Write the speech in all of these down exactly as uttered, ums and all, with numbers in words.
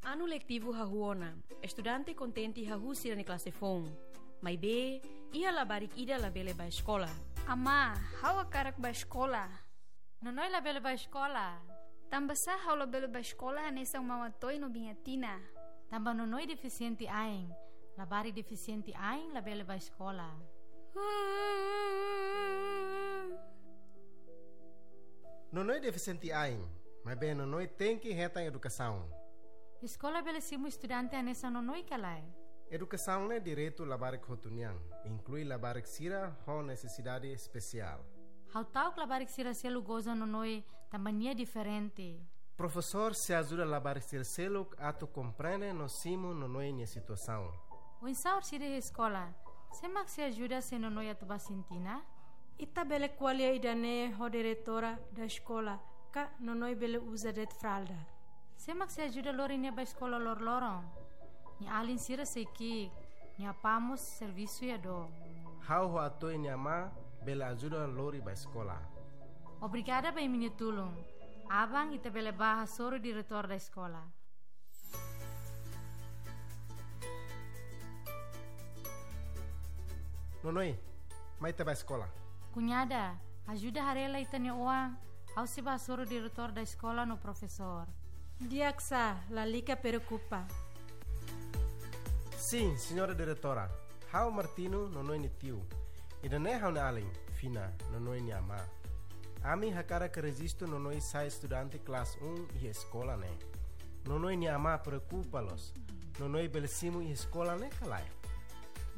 Anu letivu hahú ona, estudante kontente hahú sira-nia klase foun. Maibé, iha labarik ida labele bá eskola. Amá, ha'u hakarak bá eskola. Nonoi labele bá eskola. Tanbasá ha'u labele bá eskola hanesan Maun Atoy no Biin Atina? Tanba Nonoi defisiente ain. Labarik defisiente ain labele bá eskola. Nonoi defisiente ain, maibé Nonoi tenke hetan edukasaun. Eskola bele simu estudante hanesan Nonoi ka lae? Edukasaun ne'e direitu labarik hotu nian, inklui labarik sira ho nesesidade espesiál. Ha'u ta'uk labarik sira seluk goza Nonoi tanba nia diferente. Profesór sei ajuda labarik sira seluk atu komprende no simu Nonoi nia situasaun. Oinsá orsida iha eskola, sé mak sei ajuda se Nonoi atu bá sintina? Ita bele ko'alia ida-ne'e ho diretora da eskola, ka Nonoi bele uza de'it fralda. Sé mak sei ajuda lori nia bá eskola loroloron? Nia alin sira sei ki'ik, nia apá mós servisu iha dook. Ha'u ho Atoy nia amá bele ajuda lori bá eskola. Obrigada ba imi-nia tulun. Aban ita bele bá hasoru diretór da eskola. Nonoi, mai ita bá eskola. Kuñada, ajuda haree lai ita-nia oan, ha'u sei bá hasoru diretór da eskola no profesór. Di'ak sá, lalika preokupa. Sin, señora diretora. Ha'u Martino, Nonoi nia tiu. Ida-ne'e ha'u-nia alin, Fina, Nonoi nia amá. Ami hakarak rejistu Nonoi sai estudante klase um iha eskola ne'e. Nonoi nia amá preokupa loos. Nonoi bele simu iha eskola ne'e ka lae?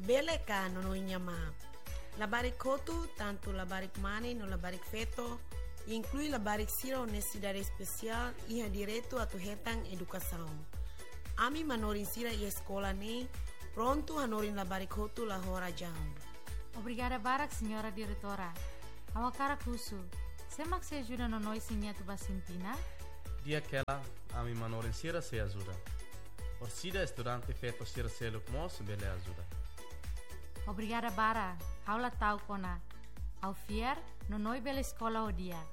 Bele ka, Nonoi nia amá. Labarik hotu, tantu labarik mane no labarik feto, inklui labarik sira ho nesesidade espesiál, iha direitu atu hetan edukasaun. Ami manorin sira iha eskola ne'e prontu hanorin labarik hotu la ho razaun. Obrigada barak, señora diretora. Ha'u hakarak husu, sé mak sei ajuda Nonoi se nia atu bá sintina? Di'ak hela, ami manorin sira sei ajuda. Orsida estudante feto sira seluk mós bele ajuda. Obrigada barak, ha'u la ta'uk ona. Ha'u fiar, Nonoi bele eskola ho di'ak.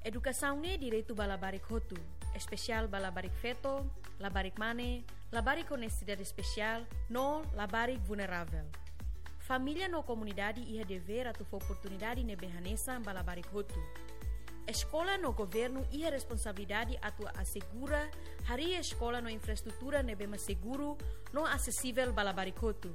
Edukasaun ne'e direitu ba labarik hotu, espesiál ba labarik feto, labarik mane, labarik ho nesesidade espesiál, no labarik vulneravel. Família no komunidade iha devér atu fó oportunidade ne'ebé hanesan ba labarik hotu. Eskola no governu iha responsabilidade atu asegura harii eskola no infraestrutura ne'ebé mak seguru no asesivel ba labarik hotu.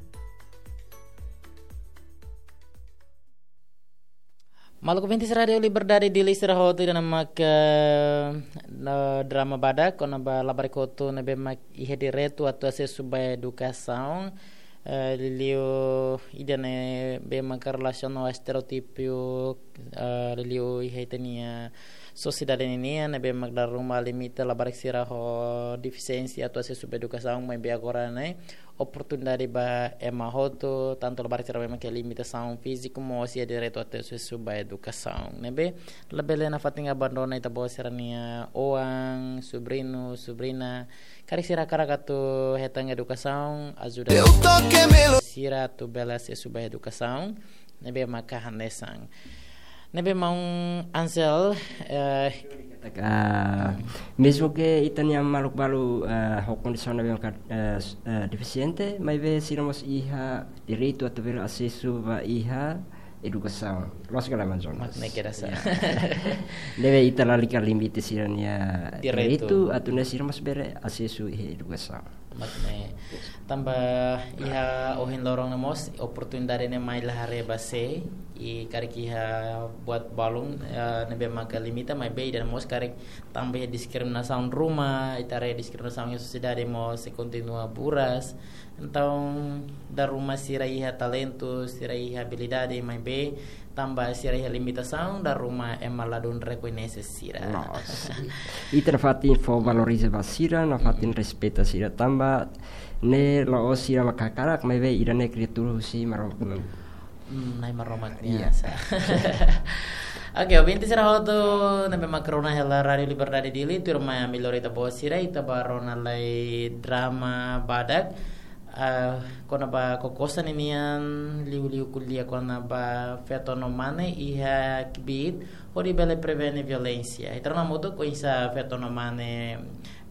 Maluk ouvintes Rádiu Liberdade Dili sira hotu, ida-ne'e mak, eh, no drama badak kona-ba labarik hotu ne'ebé mak iha direitu atu asesu ba edukasaun, eh, liuliu ida-ne'ebé mak relasiona ho estereótipu, eh, liuliu iha ita-nia sosiedade ninian, ne'ebé mak dala ruma limita labarik sira ho defisiénsia atu asesu ba edukasaun, maibé agora ne'e oportunidade ba ema hotu, tantu labarik sira ne'ebé mak iha limitasaun fíziku mós iha direitu atu asesu ba edukasaun. Ne'ebé labele nafatin abandona ita-boot sira-nia oan, subriñu, subriña, karik sira hakarak atu hetan edukasaun, ajuda sira atu bele asesu ba edukasaun ne'ebé maka hanesan. Ne'ebé maun Ansel, eh, ah, mezmu ke ita-nia maluk balu, ah, ho kondisaun ne'ebé maka, eh, s-, eh, defisiente, maibé sira mós iha direitu atu bele asesu ba iha edukasaun. Loos ka lae, maun Jonas? Mak ne'e kedas. Ya. Ne'ebé ita lalika limite sira-nia direitu. Direitu, atu nune'e sira mós bele asesu iha edukasaun. Mak ne'e. Tanba iha ohin loron ne'e mós oportunidade ne'e mai la haree ba sé, i karik iha buat balun, eh, ne'ebé maka limita, maibé ida-ne'e mós karik tanba iha diskriminasaun ruma, ita haree diskriminasaun iha sosiedade mós sei kontinua buras. Entaun, dala ruma sira iha talentu, sira iha abilidade, maibé tanba sira iha limitasaun, dala ruma ema ladún rekoñese sira. Loos. Ita nafatin fó valoriza ba sira, nafatin, mm, respeita sira tanba ne'e la'ós sira mak hakarak, maibé ida-ne'e kriatura husi Maromak. Hmm, Na'i Maromak nian. Iya. Oke, ouvintes sira hotu ne'ebé mak rona hela Rádiu Liberdade Dili, tuirmai ami lori ita-boot sira, ita bá rona lai drama badak. Ah, kona-ba Kokosa ninian liuliu ko'alia kona-ba feto no mane iha kbiit hodi bele prevene violénsia. Ita rona hamutuk oinsá feto no mane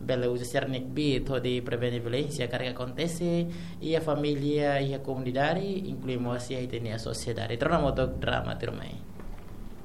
bele uza sira-nia kbiit hodi prevene violénsia karik akontese iha família, iha komunidade, inklui mós iha ita-nia sosiedade. Ita rona hamutuk drama tuirmai.